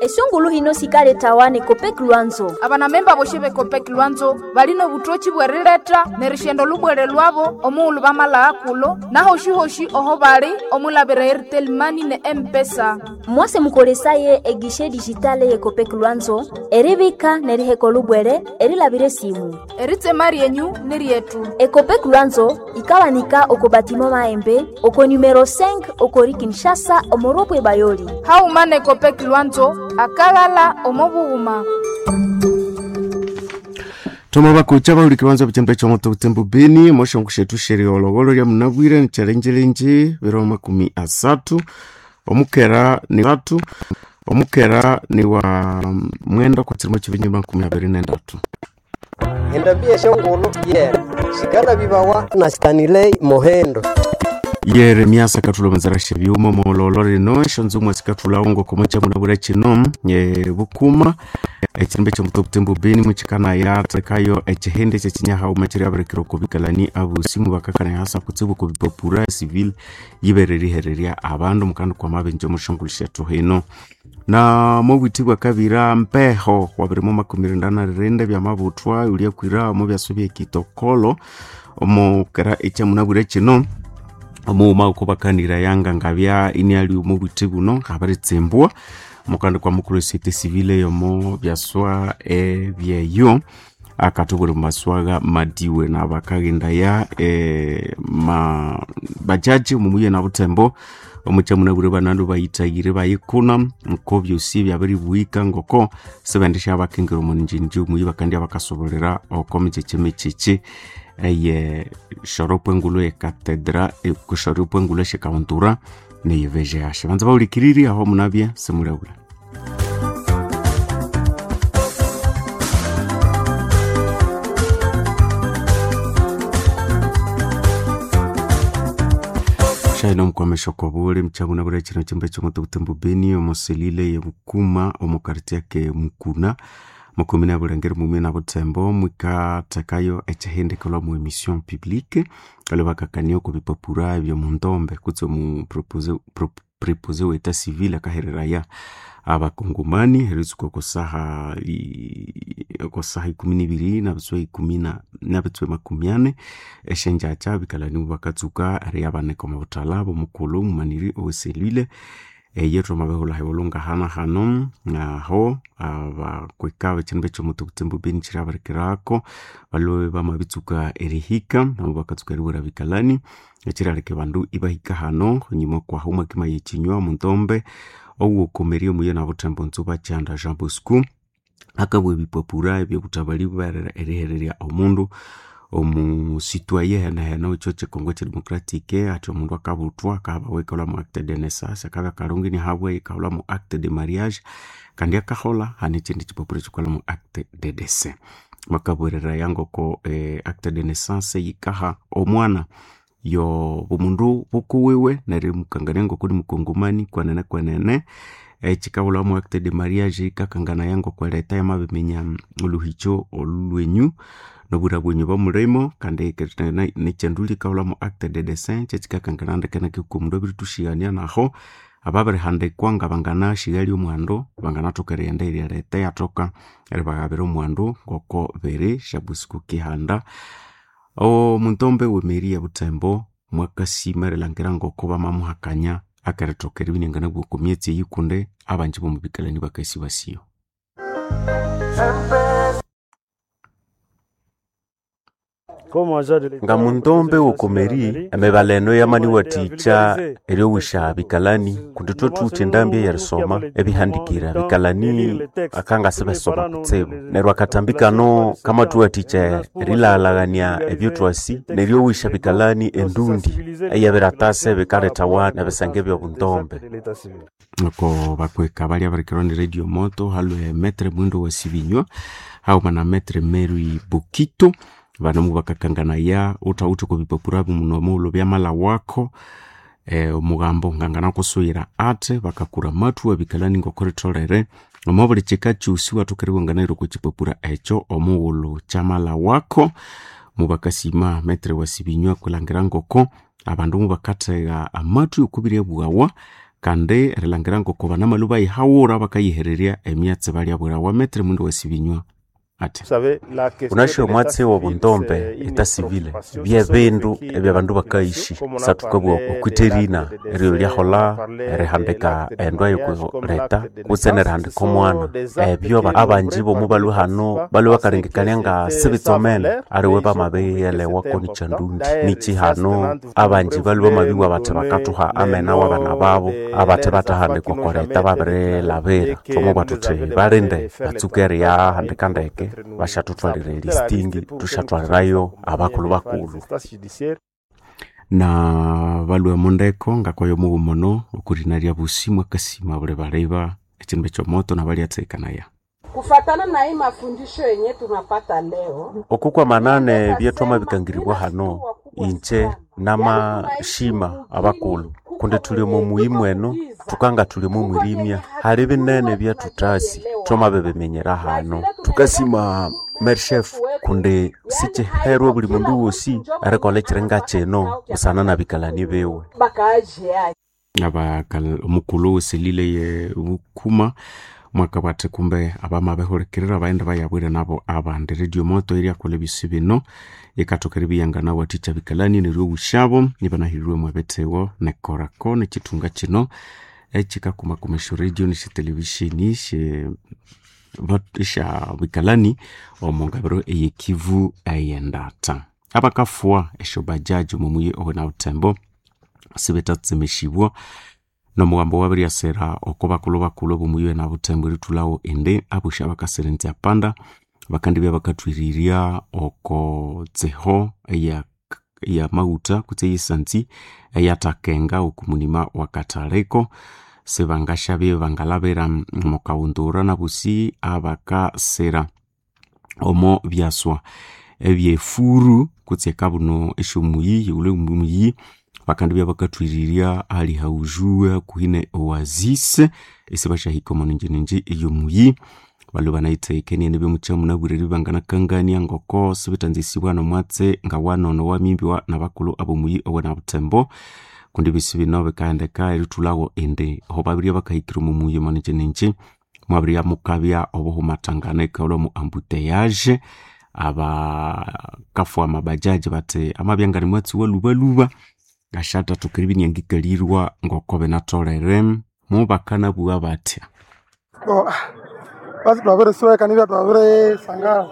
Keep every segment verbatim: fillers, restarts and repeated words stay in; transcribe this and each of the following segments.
Esongulu hino sikaletawa ne Copec Lwanzo. Abanamemba boshe be Copec Lwanzo balino butochi bwerileta nerishendo lubwere lwabo omuulu bamala kulo nahoshi-hoshi oho bali omulabira Airtel Money ne M-Pesa. Mwase mukolesaye egishe digitale ye Copec Lwanzo eribika neriheko lubwere erilabire simu. Eritsema ryenyu ni ryetu. Ecopec Lwanzo ikawanika oko batimo maembe oko numero cinq okori Kinshasa omoropwe bayoli. Hauma ne Copec Lwanzo akalala omobughuma. Toma bakucha bahuli kibanza buchembe chomoto butembo beni moshongo shetu sheri ologolo lya munabwire nchalenjelenje biro makumi asatu omukera ni tatu omukera ni wa mwenda kutsirimo chivinyi makumi abiri nendatu. Endabia shongolo yera shikala bibawa na Stanley Mohendo. Yeremia sakatula manzara shebyuma mololo rino shonzumwa sikatula ongo komocha munabwire chino ye bukuma ekirimbe kyomuto butembo beni muchikana yatekayo ekihende kyekinyaha umachiri abirekera okubikalani abusimu bakakana hasa kutsibu kubipapura civil yibererihererya abandu mukandi kwa mabenje omushongolo shethu hino na mobwiti bwa kabira mpeho wabirimo makumi rinda na rirenda byamabuthwa ulyakwira omu byaso byekitokolo omukera ekyamunabwire kino omuuma ukubakanira yanga ngabya iniali omubwiti buno ngabaриtsimbwa mukandi kwa mukulu société civile yomo byaswa ebyeyo akatubuli maswaga madiwe na bakagenda ya e, ma bajaji mumuye na butembo omuchamunabure banandu bayitayire bayikuna nko byosi byabiribuhika ngoko sebendesha abakengera omunjinji omuyi bakandi abakasobolera oko micheche micheche eye shoropo engulu ekatedra ekushoropo engulu eshikauntura neyeveje yashe banza baulikiriri aho munabye simulebula. Shaino mkwamesha kwa bule mchabuna bule chino chimbe chomoto butembo beni omoselile ye bukuma omukarti yake mukuna mukumina bulengeri mumwe na butembo mwikatekayo echihendekelwa mu emission publique kale bakakania ku bipapura ebyo mundombe kutse mu propose pro, prepose wa etat civil akahereraya abakongomani heritsuka kusaha kusaha ikumi nibiri nabitswe ikumi na nabitswe makumi ane eshenjacha bikalani bakatsuka ari abaneka omubutala bomukulu mumaniri oweselile eyethu amabehula hewolunga hana hano aho abakweka bekyindu bekyomutu butembo beni kyirabarikirako balobe bamabitsuka erihika nabo bakatsuka eriwera bikalani ekyiraleka bandu ibahika hano nyuma kwaho mwakima yekinywa muntombe owukomerie omuye nabutembo ntsuba kyanda Jean Bosco akabwa ebipapura ebyobutabali erihererya omundu omusitwaye henahena ekyo kyekongo kyedemocratic ati omundu akabuthwa akaba mu acte de naissance akabya kalungi nihabwe ikaholwa mu acte de mariage kandi akahola hane ekindi kipapuro ekikolha mu acte de décès bakabwereraya ngoko eh, acte de naissance yikaha omwana yo bumundu bukuwiwe neryo mukangania ngoko ni mukongomani kwenene kwenene ekikabulha mu acte de mariage ikakanganaya ngoko eleta yamabiminya oluhicho olwenyu nobwira bwenyu bwamulimo kandi nekyandu likabulha mu acte de décès kyekikakangana ndeke omundu abiritushigania naho ababirihandikwa nga banganashighali omwandu banganathoka erighenda eryaleta yathoka eribaghabira omwandu ngoko biri Jean Kihanda omuntombe wemeri ya butembo mwakasima erilangira ngoko bamamuhakanya akarithoka eribinengana bwoko myetsi eyikunde abanji bomubikalani bakasibasiyo. Nga muntombe wokomeri emibala eno yamaniwathikya eryowisha bikalani kundi thwathuwithe endambi eyerisoma ebihandikira bikalani akangasi besoma kutsibu neryo akatambi kano kamathuwathikya erilaghalhaghania ebyothwasi neryowisha bikalani endundi eyebiratasa ebikalethawa nebisenge ebyobuntombe. Oko bakweka balya barikirwa ni Radio Moto halwe Metre Mwindo wa Sibinywa hauma na Metre Mary Bukito banamu bakakanganaya uthawuthe okwa muno mulo byamala wako eh, omugambo ngangana kusuyira ate bakakura mathu abikalani ngokoritholere omo buli kika kyosi wathuka okwa kipapura ekyo omughulhu kyamala wako mubakasima Metre wa Sibinywa kulangira ngoko abandu mubakathegha amathu okubirya bwawa Kandi erilangira ngoko banamalu bayihawura bakayihererya emyatsi balyabwirawa metre mundu wesibinywa ati Unashe omwatsi w'obundombe eta civile byebindu ebyabandu bakaishi satukabugha okwitherina eryo lyaholha erihandika endwa yokuleta kutse nerihandika omwana ebyo abanji bomu balwe hano balwe bakalengekania nga sibitsomene aliwe bamabiyelewako nikyandundi niki hano abanji balwe bamabibugha bathi bakathuha amena w'abana babo abathi bathahandikwa okoleta babirilabira thwamubugha thuthi balinde batsuke eriyahandika ndeke bashathuthwalira elistingi tushatwalirayo abakulhu bakulhu. Na balwe mundeko ngakwayo mughuma okurina lya busi mwakasima buli baleba ekindu ekyomoto nabalyathekanaya. Kufatana na hii mafundisho yenye tunapata leo Okukwamanane byetwamabikangiribwa hano inje namashima abakulhu kundi thuli omo muyimu eno thukanga thuli omo mwirimya hali binene byethuthasi thwamabibiminyera hano thukasima merchef kundi sikiherwe buli mundu wosi erikolha ekiringa kino busana na bikalani biwe. Bakaaji yake Abakal omukulhu weselile ye bukuma mwakabwathe kumbe abamabihulikirira baghenda bayabwire nabo abandi. Radio Moto eryakolha ebisi bino yikathoka eribiyangana wathikya bikalani neryo obusyabo ibanahirirwe mwebithiwo nekorako nekithunga kino ekikakumakuma esyo radio nesya television sya bikalani omu ngabiro eyekivu eyendata. Abakafuwa esyo bajaji omu muyi owenabuthembo sibethatsemesibwa nomugambo wabiryasira oko bakulhu bakulhu abomuyi owenabuthembo erithulhawo indi abosi abakaserenzya panda bakandibya bakathwirirya oko tsiho eya eyamaghutha kutse eyesanzi eyathakenga oku munima wakathaliko sibangasyabya bangalabira mukawundura nabosi abakasira omo byaswa ebyefuru kutse ekabuno esyomuyi yighulhe omuyi bakandibya bakathwirirya ahali haujuwe hakuhi ne oasis isibasyahika omo ninjininji eyomuyi. Balwe banayithekenie nibyo munabwire eribya banganakangania ngoko sibithanzisibwa nomwatsi ngawanono wamimbiwa nabakulhu abomuyi owenabuthembo kundi ebisi bino bikaghendeka erithulhawo indi aho babirya bakahikira omo muyi omo ninjininji mwabirya mukabya obuhumathangana ikaghulha omu ambuteyage. Abakafuha amabajaji bathi amabya ngani mwatsi walhubalhuba ngasyatathoka eribya iniangikalirwa ngoko binatholere mubakanabugha bathya. Bo basi twabirisweka nibya twabirisangala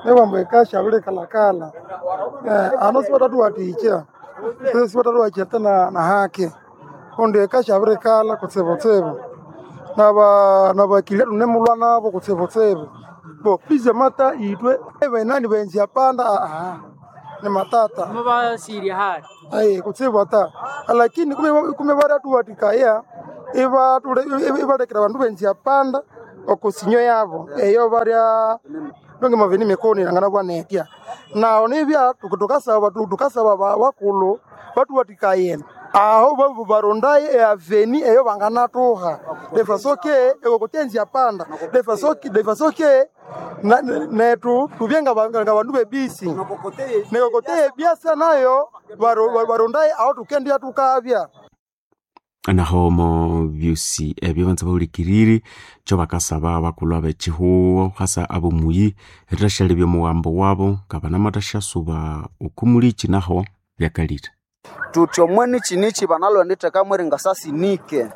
nibwambu ekasha yabirikalakala eh, ano sibathathuwathikya sibathathuwathikya tena na haki kundi ekasha yabirikala kutsibutsibu naba nabakilia tunemulwa nabo kutsibutsibu bo bize mata itwe ebenani benzia panda aha ni matata mubasiria hali aye kutsibu ata lakini kume kume baratuwatikaya ibalekera bandu benzia panda okusinyo yabo eyo barya donge maveni mikoni nangana bwanetya naho nibya tukasaba tukasaba bakulu batuwatikaye aho babu barondaye eaveni eyo banganatuha defasoke ekokotenzia panda defasoke defasoke na- netu tubye nga ba- nga bandu bebisi nekokoteye biasa nayo baro- barondaye aho tukendya tukabya. Naho omo byosi ebyo banza bahulikiriri kyo bakasaba abakulhu ab'ekihuho hasa ab'omuyi erithasyalebya omughambo wabo ngabanamathasyasuba okumuliki naho byakalire. Tuti omweni chinichi banalwenditheka mweringasasinike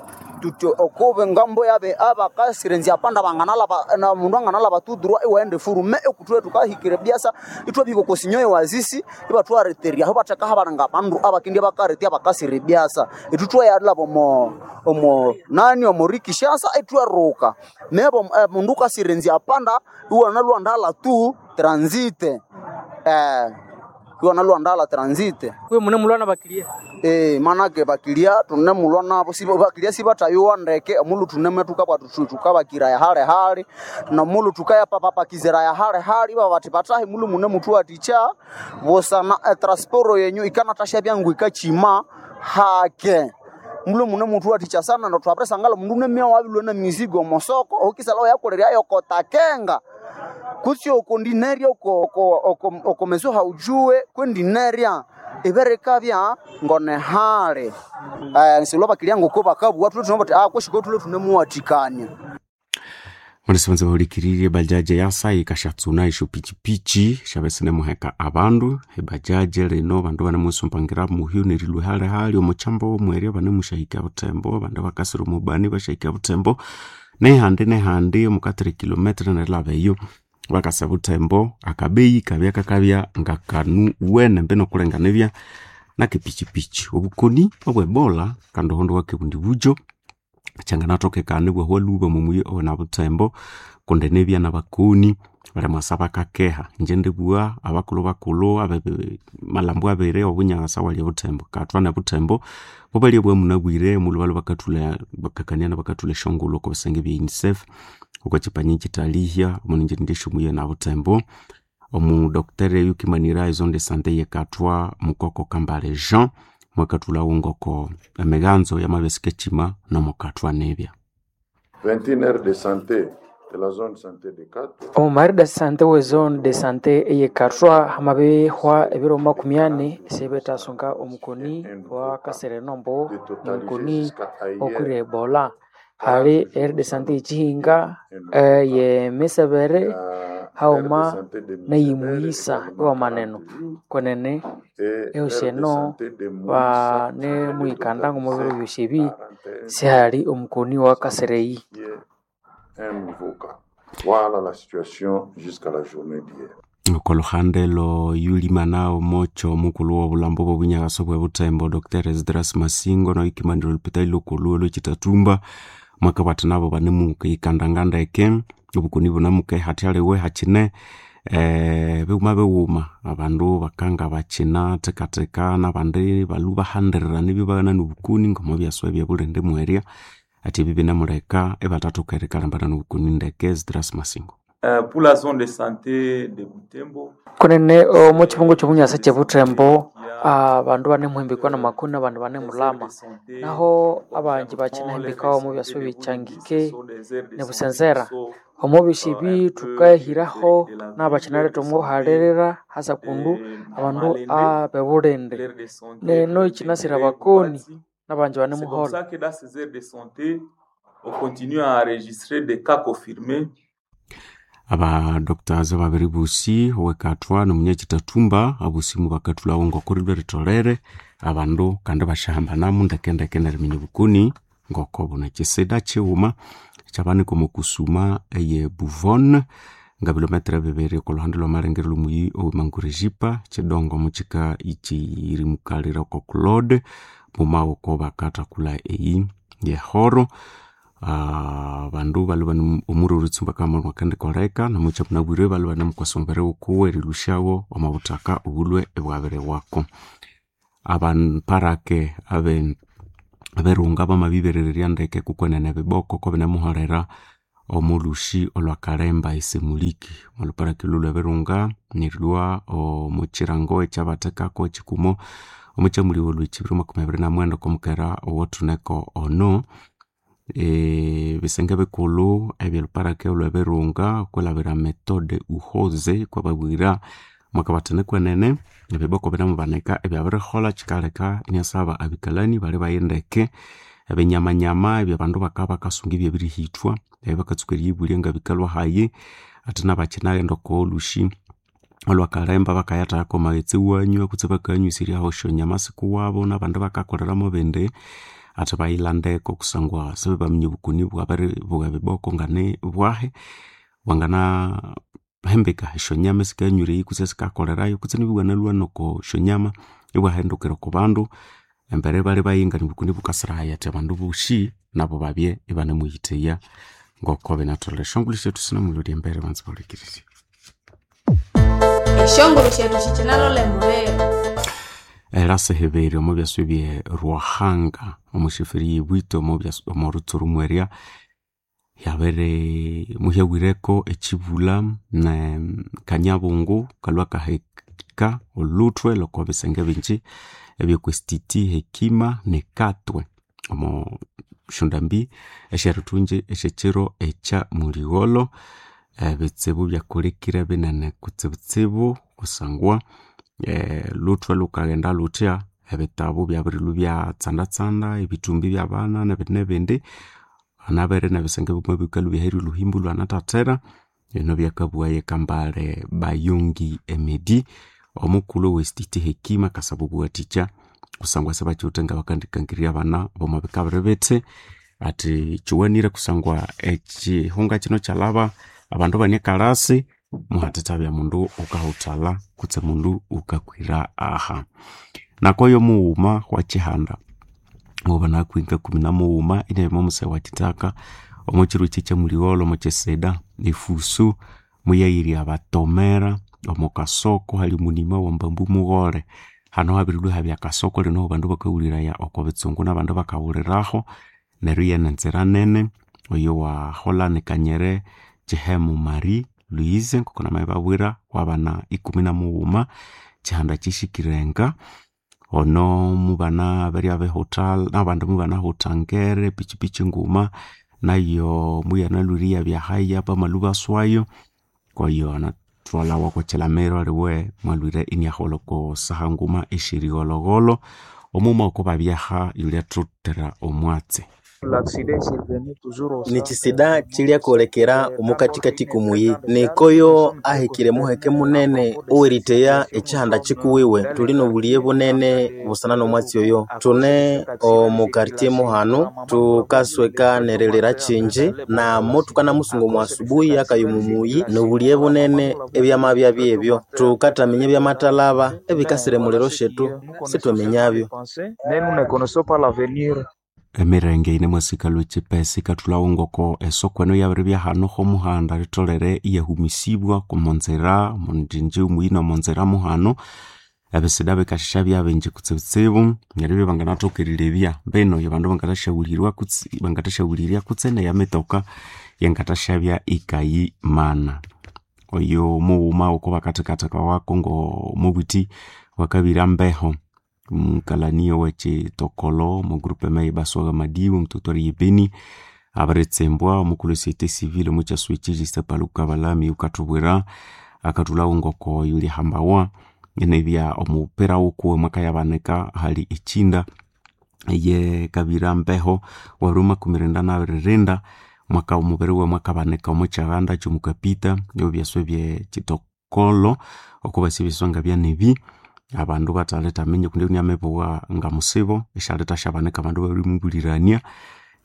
tuti okubi ngambo yabe abakasirenzya panda banganalaba na mundu anganalaba tudurwa iwaenda furume ekutwe tukahikire byasa itwabika okosinyo wazisi ibatwareterya aho batheka habalanga bandu abakindi bakaretya bakasire byasa itutwayalaba omo omo nani omo rikishasa itweruka mebo eh, mundu kasirenzya panda iwanalwandala tu transite eh iwanalwandala transite kwe mune mulwana bakilia Eh, manake bakilia tunemulwa nabo siba bakilia sibatayowa ndeke omulu tunemetuka bwatu tukabakira ya hale hale nomulu tukaya papapakizira ya hale hale iba bati batahi mulu mune mutu aticha bosana eh, transporo yenyu ikanatasha byangu ikachima hake mulu mune mutu aticha sana ndo twapresangala mundu nemia wabilwe na mizigo mosoko okisala yakolerya yokotakenga. Kutsi okondineria oko oko oko oko meso haujue kwendineria iberikabya ngonehali. Eh silo bakilia ngoko bakabwa tule tunobati ah kweshiko tule tunemuwatikania. Mwanasebanza bahulikirire bajaje yasa ikashatsuna isho pichipichi shabesene muheka abandu ebajaje lino bandu banemusumbangira muhyu nerilwe hali hali omuchambo omwerya banemushahika butembo abandu bakasira omubani bashahika butembo nehandi nehandi omukatiri kilometre nerilaba eyo bakasa butembo akabeyi kabya kakabya ngakanu wene mbe nokulengana ebya nakepichipichi obukoni obwebola kandi ohondo wakebundi bujo kyanganatokekana ibwahwa lhuba omumuyi owena butembo kundi nibya nabakoni balimwasa bakakeha inje ndibugha abakulhu bakulhu abe malhambo abiri obunyasa walya butembo kathwa nebutembo bubalya bwamunabwire omulhu balhwa bakathulha bakakania nabakathulha esyongulhu oko bisenge ebya UNICEF oko kyipanyi kyitalihya omuningirindya esyomuyi ena butembo omu docteur yukimanira ezone de sante yekathwa mukoko Kambale Jean mwakathulhawo ngoko emiganzo yamabya nomukathwa nibya. vingt et une aires de santé de la zone santé de Katwa. Omu de sante we zone de santé eyekathwa hamabihwa ebiro makumi ani sibethasunga omukoni wa kaserenombo omukoni okwira ebola. Hali aire de sante yekihinga eyemisebere haghuma neyemuyisa iwamaneno kwenene ehosi eno banemuyikanda ngomubiro byosi ebi sihali omukoni wa kasereyi. Voilà la situation jusqu'à la journée d'hier. Okoluhande lo yulimana omocho omukulhu w'obulambo bw'obunyaghaso bwe Butembo Doctor Esdras Masingo noyukimanira olupitali lukulhu olw'ekitatumba mwakabwatha nabo banemukiyikandanga ndeke obukoni bunamukehathaliwe hakine eh, bighuma bighuma abandu bakanga bakina thekatheka nabandi balhu bahandirirana ibyo nobukoni ngomo byaswa ebyabulindi mwerya ati ebi binamuleka ibathathoka erikalambana nobukoni ndeke. Esdras Masingo. Uh, pour la zone de santé de Butembo Kunene omu kibungo ky'obunyasa ky'ebutembo abandu banemuhimbikwa namakoni abandu banemulama naho abangi bakinahimbikawo omu byaswa ebikyangike nebusenzera omu byosi ebi thukahiraho n'abakinaletha omuhalirira hasa kundu abandu abebulindi neno ikinasira abakoni n'abangi C'est comme banemuholha. ça que dans ces aires de santé on continue à enregistrer des cas confirmés. Abadoctors babiri bosi owekathwa nomunyakitathumba abosimu bakathulhawo ngoko rilwe ritholere abandu kandi basyahambanamu ndekendeke neriminya obukoni ngoko bunakisida kighuma kyabanika omo kusuma eye Buvon nga bilometre bibiri okoluhande lwamalengero lwomuyi owe Mangurejipa kidongo mukika ikirimukalira oko Claude mumaboko bakathakulha eyi yehoro. Ah, bandu balhwa bane omururu oritsumba kamakandikoleka nomukya munabwire balhwa banemukwasa omubiri wukuwe erilhusyawo omo buthaka obulhwe ibwabiriwako. Abaparake abe aberunga bamabiberererya ndeke kukwenene ebiboko kobinemuholera omulhusi olwakalemba esemuliki omolhuparake lhulhu ebirunga nerilhwa omukirango ekyabathekako ekikumo omukyamuliwa olhwekibiri makumi abiri namwenda okwamukera owothuneko ono ebisenge bikulhu ebyelhuparake olhwebirunga okwilhabira methode uhoze kwababwira mwakabathana kwenene ebiboko binamubanika ebyabiriholha kyikaleka inasaba abikalani bali bayindeke ebinyamanyama ebyabandu bakabya bakasunga ibyabirihithwa ebyabakatsuka eriyibulya ngabikalwa hayi ate nabakinaghenda okolhusi olwakalemba bakayathekako amaghetse iwanywa kutse bakanywisiryaho esyonyama sikuwabo nabandi bakakoleramu bindi ate bayilhandeko kusangwa sibabaminya obukoni bwabiri bwebiboko ngani bwahi bwanganahembeka esyonyama esikanywa eyi kutse esikakolerayo kutse nibwanalhwa noko syonyama ibwahendukira oko bandu embere ibali bayingania obukoni bukasirahaya athi abandu bosi nabo babye ibanemuyitheya ngoko binatholere. Esyongulhu syethu sinamulholya embere banza bahulikirire. Eshongolo shetu shikinalole mubero. Erasihibiri omo byaswa ebye Rwahanga omushifiri yebwito omo byaswa omo rutsuru mwerya yabere muhyawireko ekibula ne kanyabungu kalhwa kaheka olhuthwe loko bisenge bingi ebyekwestiti Hekima nekatwe omo syondambi esyerithungi esyekyiro ekya muligholo. Ebitsibu byakolekire binene kutsibutsibu kusangwa eh, luthwe lukaghenda luthya ebitabu byabirilhwa byatsandatsanda ebithumbi byabana nebindi nebindi hanabere nebisenge bimwe bikalhwa byaherya olhuhimbu lwanathathera bino byakabughaye Kambale Bayongi Emedi omukulhu ow'esititi Hekima akasaba obuwathikya kusangwa sibakiwithe ngabakandikangirya abana b'omo bika biri bithi athi kiwanire kusangwa ekihunga kino kyalhaba abandu bane ekalasi muhatithabya mundu wukahuthalha kutse mundu wukakwira aha. Nakoyo mughuma wa Kihanda wabanakwinga kumi na mughuma inabya omusee wa Kithaka omo kiro kye kyamuligholho omo kyisida efusu muyayirya abatomera omo kasoko hali omunima wambambu mughole. Hano habirilhwa ihabya akasoko lino abandu bakawuliraya oko bitsungu nabandu bakawuliraho neryo iyane enzira nene oyo waholha Kanyere Kihemu Marie Louise ngoko namabibabwira wabana ikumi na mughuma Kihanda kyihikire ono mubana berya behutha nabandu mubanahutha ngere pichipichi nguma nayo muyanalhwire iyabya haya bamalhwa ibaswayo koyo anathwalawa oko kilamiro aliwe mwalhwire iniaholha oko saha nguma esyerigholhogholho omughuma oko babyaha yulhyathuthira omwatsi. Nikisida kyilyakolekera omukathikathi komuyi nikoyo ahikire muheke munene oweriteya ekihanda kikuwiwe. Thuli nobulighe bunene busana nomwatsi oyo. Thune omu quartier muhanu thukasweka nerilira kyingi namo thukanamusunga omu asubuhi akaya omu muyi nobulighe bunene ebyamabya byebyo. Thukathaminya ebyamathalaba ebikasira emuliro syethu sithwaminyabyo. Emirenge yine mwasikalhwa ekyipesa ikathulhawo ngoko esoko eno yabiribya hano homuhanda litholere iyahumisibwa omonzira omonjinji omuyina omonzira muhano ebisida bikasisya byabingi kutsibutsibu neryo ibya banganathoka erilebya mbino abandu bangathasyawulirwa kutse bangathasyawulirya kutse neyamitoka yangathasyabya ikayimana. Oyo mughuma oko bakathekathekawako ngomubuthi wakabira mbeho omukalani owekyitokolo omo groupement ye Baswaga Madiba omuteritwari ye Beni abiritsimbwa omukulhu e société civile omukyaswa ekyi Justin Paluku Kabalami wukathubwira akathulhawo ngoko yulihambawa inabya omupira wukuwe mwakayabanika hali ekyinda eye kabira mbeho wabiri makumi irinda nabiri rinda mwaka omubiri wiwe mwakabanika omo kyaghanda kyomukapita ebyaswa ebyekitokolo okubasi ebyaswa ngabyanebi abandu bathalithaminya kundi inamibugha ngamusibo isyalithasyabanika abandu babirimubulirania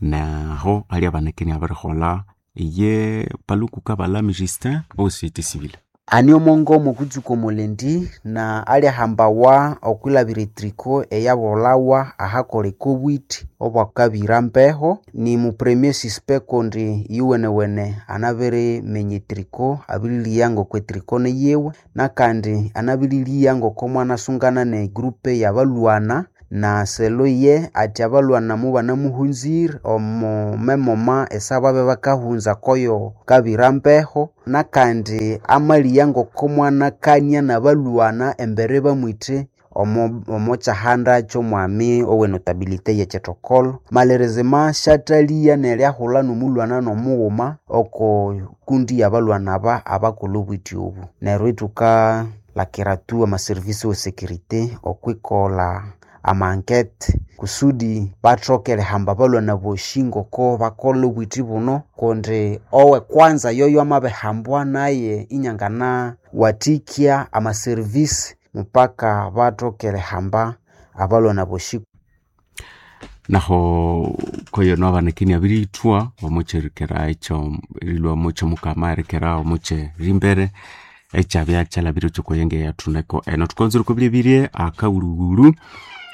naho alyabanika inabiriholha eye Paluku Kabalami Justin owe société civile. Ani omongo omukutsuka omulendi na alyahambawa okwilabira etriko eyabolhawa ahakoleka obwithi obwakabira mbeho. Ni mu premier suspect kundi yuwenewene anabiriminya etriko abililya ngoko etriko niyiwe nakandi anabililya ngoko mwanasungana ne group yabalwana na selo ye athi abalwana mubanamuhunzire omo memoma esababya bakahunza koyo kabira mbeho nakandi amaliya ngoko mwanakania nabalwana embere bamwithe omo omo kyahanda kyomwami owenotabilite yekyithokolo. Malerezima syathaliya neryahulha nomulwana nomughuma oko kundi yabalwana aba abakolha obwithi obu. Neryo ithukalakira tu amaservice we security okwikolha amankete kusudi bathoke erihamba abalwana bosi ngoko bakolha obwithi buno kundi owe kwanza yoyo amabihambwa naye inyangana wathikya amaservice mupaka bathoke erihamba abalwana bosi. Naho koyo nobaneka inabirithwa omukyerikera ekyo erilhwa omukyomukama erikera omukyerimbere ekyabya kyalhabire kyokoyenge yathuneko eno. Thukanzire okwabiryabirye akawulhuwulhu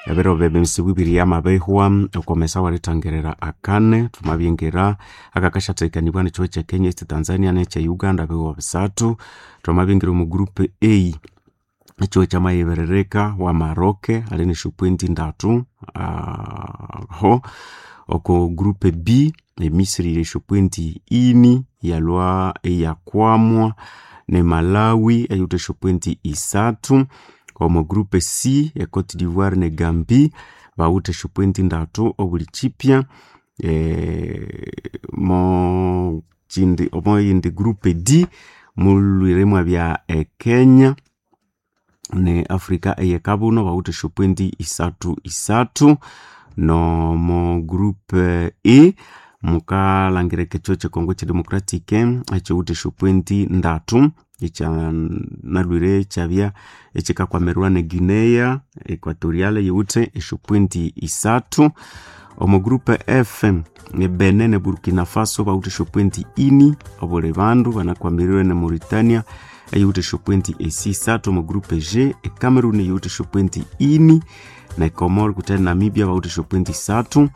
ebiro byemisibu ibiri yamabihwa okwamesa werithangirira akane thwamabyingira akakasyathekanibwa nekyihugho ekya Kenya, East Tanzania nekya Uganda bihugho bisathu. Thwamabyingira omu group A ekyihugho kyamayibiririka wa Maroc ali nesyopointi ndatu aho oko group B emisiri yiri esyopointi ini yalhwa iyakwamwa ne Malawi eyuwithe esyopointi isathu. Omo group C e Cote d'Ivoire ne Gambie bawithe esyopointi ndatu obuli kyipya mo chindi omo yindi groupe D mulwire mwabya e Kenya ne Afrika eyekabuno bawithe esyopointi isathu isathu nomo groupe E mukalhangira ekyo kyekongo kyedemocratic ekiwithe esyopointi ndatu ekyanalwire ekyabya ekyikakwamirwa ne Guinea Equatorial yiwithe esyopointi isathu. Omo groupe F ne Benin ne Burkina Faso bawithe esyopointi ini obuli bandu banakwamirwe ne Mauritania eyiwithe esyopointi esisathu. Omo groupe G e Cameroon yiwithe esyopointi ini ne Comores kuthe Namibia bawithe esyopointi isathu.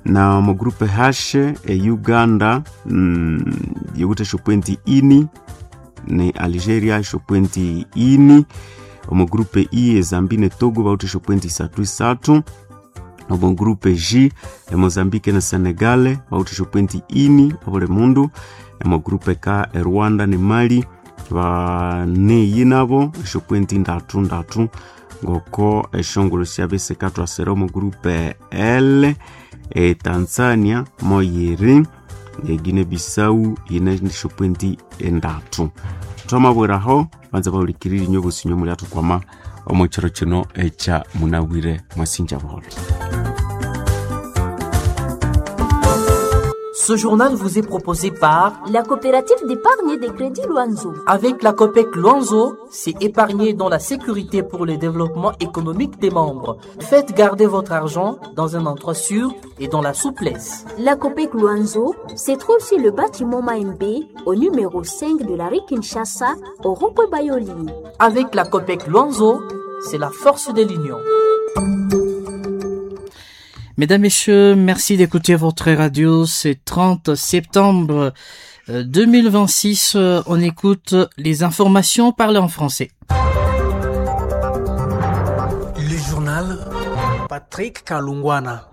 Na omo groupe H e Uganda mm, yiwithe esyopointi ini ne Algeria esyopointi ini. Omo groupe I e Zambia ne Togo bawithe esyopointi isathu isathu. Omo groupe J e Mozambique ne Senegal bawithe esyopointi ini obuli mundu. Omo groupe K e Rwanda ne Mali baneyi nabo esyopointi ndatu ndatu ngoko eshongolo syabya sikathwasira. Omo groupe L e Tanzania moyiri e Guinea Bissau yine esyopointi endatu. Twamabwiraho banza bahulikirire inyo bosi inyo mulyathukwama omo kiro kino ekya munabwire mwasinja buholo. Ce journal vous est proposé par la coopérative d'épargne et de crédit Luanzo. Avec la COPEC Luanzo, c'est épargner dans la sécurité pour le développement économique des membres. Faites garder votre argent dans un endroit sûr et dans la souplesse. La COPEC Luanzo se trouve sur le bâtiment Maembe, au numéro cinq de la rue Kinshasa, au rond-point Bayoli. Avec la COPEC Luanzo, c'est la force de l'union. Mesdames, Messieurs, merci d'écouter votre radio. C'est trente septembre deux mille vingt-six. On écoute les informations parlées en français. Le journal Patrick Kalungwana.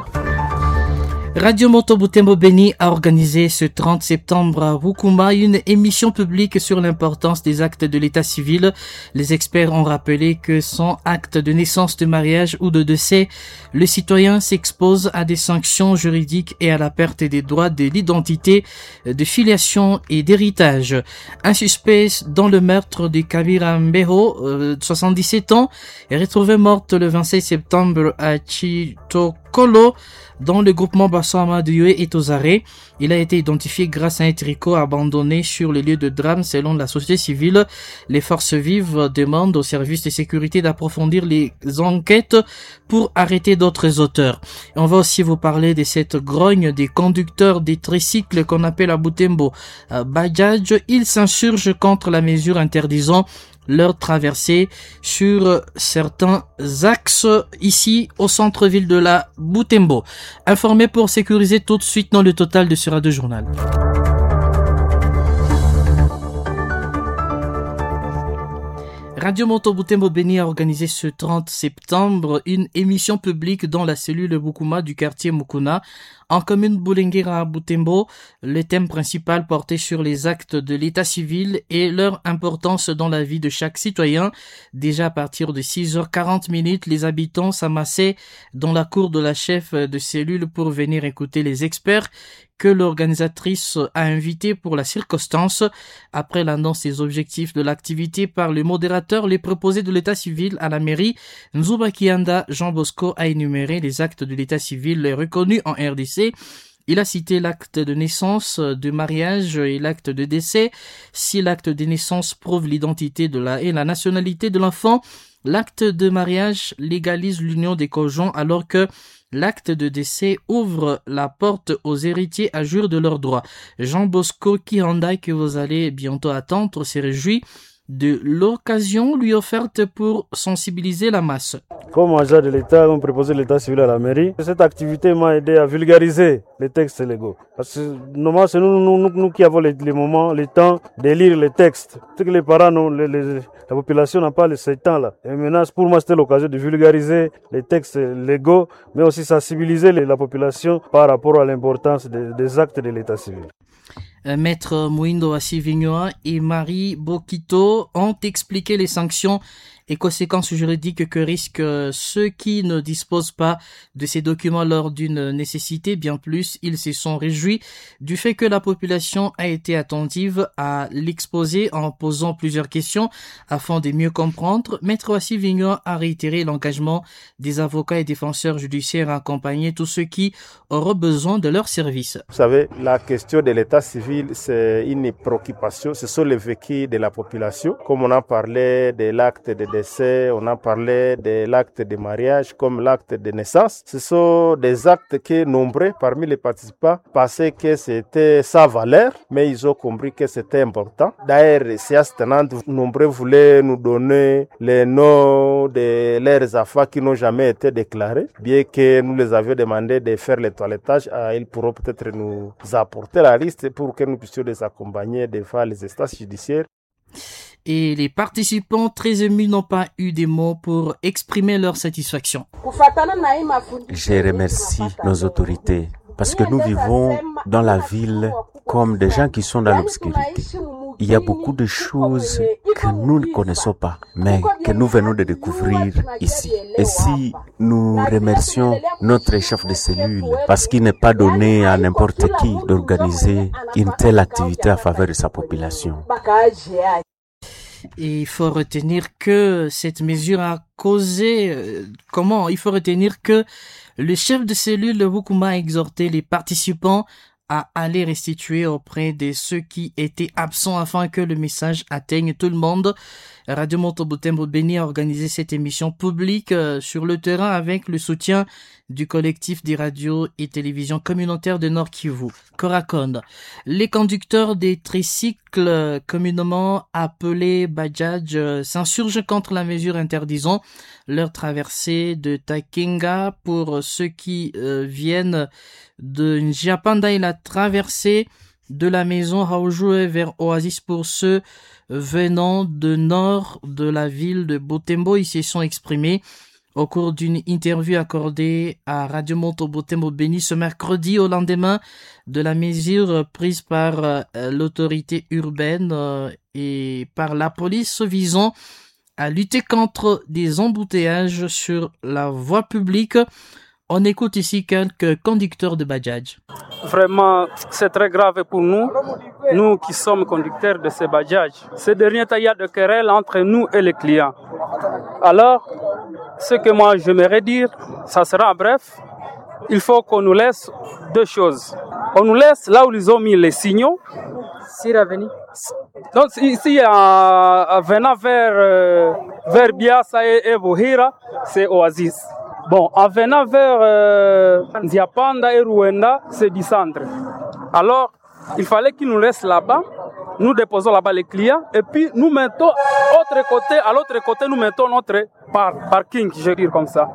Radio Moto Butembo Beni a organisé ce trente septembre à Rukuma une émission publique sur l'importance des actes de l'état civil. Les experts ont rappelé que sans acte de naissance, de mariage ou de décès, le citoyen s'expose à des sanctions juridiques et à la perte des droits de l'identité, de filiation et d'héritage. Un suspect dans le meurtre de Kabira Mbeho, euh, soixante-dix-sept ans, est retrouvé morte le vingt-sept septembre à Chitokolo, dans le groupement Bassama de Yue est aux arrêts. Il a été identifié grâce à un tricot abandonné sur le lieu de drame selon la société civile. Les forces vives demandent aux services de sécurité d'approfondir les enquêtes pour arrêter d'autres auteurs. Et on va aussi vous parler de cette grogne des conducteurs des tricycles qu'on appelle à Butembo Bajaj. Ils s'insurgent contre la mesure interdisant leur traversée sur certains axes ici au centre-ville de la Butembo. Informé pour sécuriser tout de suite dans le total de ce radio journal. Radio Moto Butembo Beni a organisé ce trente septembre une émission publique dans la cellule Bukuma du quartier Mukuna, en commune Bulengera à Butembo. Le thème principal portait sur les actes de l'état civil et leur importance dans la vie de chaque citoyen. Déjà à partir de six heures quarante minutes, les habitants s'amassaient dans la cour de la chef de cellule pour venir écouter les experts que l'organisatrice a invité pour la circonstance. Après l'annonce des objectifs de l'activité par le modérateur, les préposés de l'état civil à la mairie, Nzuba Kianda Jean Bosco a énuméré les actes de l'état civil reconnus en R D C. Il a cité l'acte de naissance, de mariage et l'acte de décès. Si l'acte de naissance prouve l'identité de la et la nationalité de l'enfant, l'acte de mariage légalise l'union des conjoints alors que l'acte de décès ouvre la porte aux héritiers à jouir de leurs droits. Jean Bosco Kihanda, que vous allez bientôt attendre, s'est réjoui de l'occasion lui offerte pour sensibiliser la masse. Comme agent de l'État, on préposait l'état civil à la mairie. Cette activité m'a aidé à vulgariser les textes légaux. Parce que normalement, c'est nous, nous, nous, nous qui avons les, les moments, le temps de lire les textes. C'est que les parents, non, les, les, la population n'a pas ce temps-là. Et maintenant, pour moi, c'était l'occasion de vulgariser les textes légaux, mais aussi sensibiliser les, la population par rapport à l'importance des, des actes de l'état civil. Maître Mouindo Assivignoa et Marie Bokito ont expliqué les sanctions et conséquences juridiques que risquent ceux qui ne disposent pas de ces documents lors d'une nécessité. Bien plus, ils se sont réjouis du fait que la population a été attentive à l'exposé en posant plusieurs questions afin de mieux comprendre. Maître Wassi Vignon a réitéré l'engagement des avocats et défenseurs judiciaires à accompagner tous ceux qui auront besoin de leurs services. Vous savez, la question de l'état civil, c'est une préoccupation, ce sont les vécus de la population. Comme on a parlé de l'acte de décès, on a parlé de l'acte de mariage, comme l'acte de naissance. Ce sont des actes que nombreux parmi les participants pensaient que c'était sa valeur, mais ils ont compris que c'était important. D'ailleurs, séance tenante, nombreux voulaient nous donner les noms de leurs enfants qui n'ont jamais été déclarés, bien que nous les avions demandé de faire le toilettage, ils pourront peut-être nous apporter la liste pour que nous puissions les accompagner devant les instances judiciaires. Et les participants très émus n'ont pas eu des mots pour exprimer leur satisfaction. Je remercie nos autorités parce que nous vivons dans la ville comme des gens qui sont dans l'obscurité. Il y a beaucoup de choses que nous ne connaissons pas, mais que nous venons de découvrir ici. Et si nous remercions notre chef de cellule, parce qu'il n'est pas donné à n'importe qui d'organiser une telle activité à faveur de sa population. Et il faut retenir que cette mesure a causé, euh, comment? Il faut retenir que le chef de cellule Wukuma a exhorté les participants à aller restituer auprès de ceux qui étaient absents afin que le message atteigne tout le monde. Radio Moto Butembo Beni a organisé cette émission publique sur le terrain avec le soutien du collectif des radios et télévisions communautaires de Nord Kivu, Coracon. Les conducteurs des tricycles communément appelés Bajaj s'insurgent contre la mesure interdisant leur traversée de Takenga pour ceux qui euh, viennent de Njiapanda et la traversée de la maison Haojue vers Oasis pour ceux venant de nord de la ville de Butembo. Ils se sont exprimés au cours d'une interview accordée à Radio Moto Butembo Beni ce mercredi au lendemain de la mesure prise par l'autorité urbaine et par la police visant à lutter contre des embouteillages sur la voie publique. On écoute ici quelques conducteurs de Bajaj. Vraiment, c'est très grave pour nous, nous qui sommes conducteurs de ces Bajaj. Ces derniers temps, il y a des querelles entre nous et les clients. Alors, ce que moi j'aimerais dire, ça sera bref, il faut qu'on nous laisse deux choses. On nous laisse là où ils ont mis les signaux. Donc ici, en, en venant vers, euh, vers Biassa et, et Bohira, c'est Oasis. Bon, en venant vers euh, Nziapanda et Ruenda, c'est du centre. Alors, il fallait qu'ils nous laissent là-bas. Nous déposons là-bas les clients et puis nous mettons autre côté, à l'autre côté, nous mettons notre par parking, je veux dire comme ça.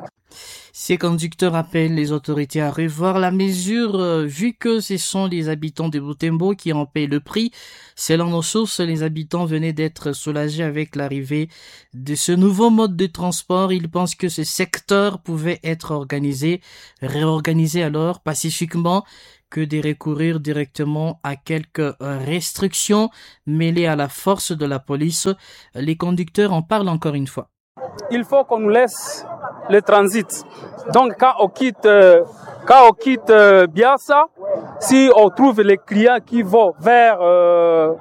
Ces conducteurs appellent les autorités à revoir la mesure euh, vu que ce sont les habitants de Butembo qui en paient le prix. Selon nos sources, les habitants venaient d'être soulagés avec l'arrivée de ce nouveau mode de transport. Ils pensent que ce secteur pouvait être organisé, réorganisé alors pacifiquement que de recourir directement à quelques restrictions mêlées à la force de la police. Les conducteurs en parlent encore une fois. Il faut qu'on nous laisse le transit. Donc quand on quitte, euh, quand on quitte euh, Biassa, si on trouve les clients qui vont vers euh,